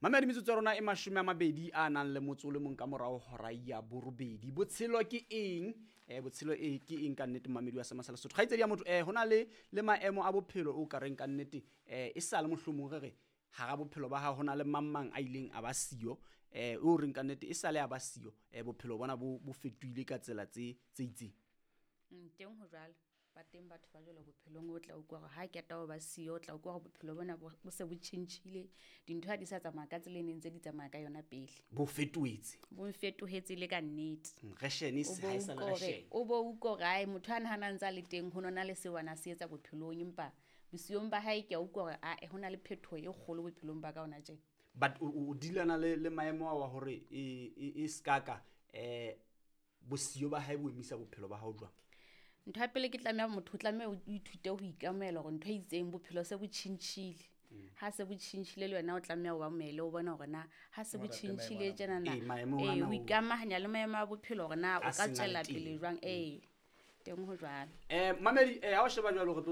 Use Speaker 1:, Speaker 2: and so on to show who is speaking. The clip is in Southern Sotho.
Speaker 1: Mamedi, metsotso ya rona e 20 a nang le motso o le mong ka morao hora ya 8. Botshelo ke eng? Botshelo e ke eng ka nnete, mamedi wa Sema sa Lesotho? Kgaitsedi ya motho, ho na le maemo a bophelo o ka reng ka nnete e sa le mohlomong re re hara bophelo ba hao ho na le mang mang a ileng a ba siyo, o reng ka nnete e sa le a ba siyo, bophelo bona bo fetohile ka tsela tse itseng.
Speaker 2: Teng ho jwalo. Ba teng batho ba jwalo bophelong, o tla utlwa hore ha keta ho ba siyo, o tla utlwa hore bophelo bona bo se bo tjhentjhile, dintho ha di sa tsamaya ka tsela e neng ntse di tsamaya ka yona pele.
Speaker 1: Bo fetohetse.
Speaker 2: Bo fetohetse le ka nnete.
Speaker 1: Reshene
Speaker 2: O bo
Speaker 1: ha e sa le
Speaker 2: utlwa hore-
Speaker 1: reshene.
Speaker 2: O bo utlwa hore ae, motho a nahanang ntse a le teng ho nona le seo ana se etsa bophelong, empa bosiong ba hae ke a utlwa hore ae, ho na le phetoho e kgolo bophelong ba ka hona tjena.
Speaker 1: But o dealana le maemo ao wa hore e ska ka, bosiyo ba hae bo emisa bophelo ba hao jwang?
Speaker 2: Ntho ya pele ke tlameha motho o tlameha o ithute ho ikamohela hore ntho e itseng bophelo se bo tjhentjhile. Ha se bo tjhentjhile le wena o tlameha o amohele, o bone hore na ha se bo
Speaker 3: Ho rate maemo
Speaker 2: tjhentjhile
Speaker 3: ana.
Speaker 2: tjena na,
Speaker 1: Ee, maemo
Speaker 2: ee,
Speaker 1: ana
Speaker 2: ho
Speaker 1: o-
Speaker 2: ikamahanya le maemo a bophelo hore na o
Speaker 1: A
Speaker 2: ka
Speaker 1: seng a le
Speaker 2: tswela
Speaker 1: teng.
Speaker 2: pele jwang. Ee, teng ho jwalo.
Speaker 1: Mamedi, ha o sheba jwalo re tlo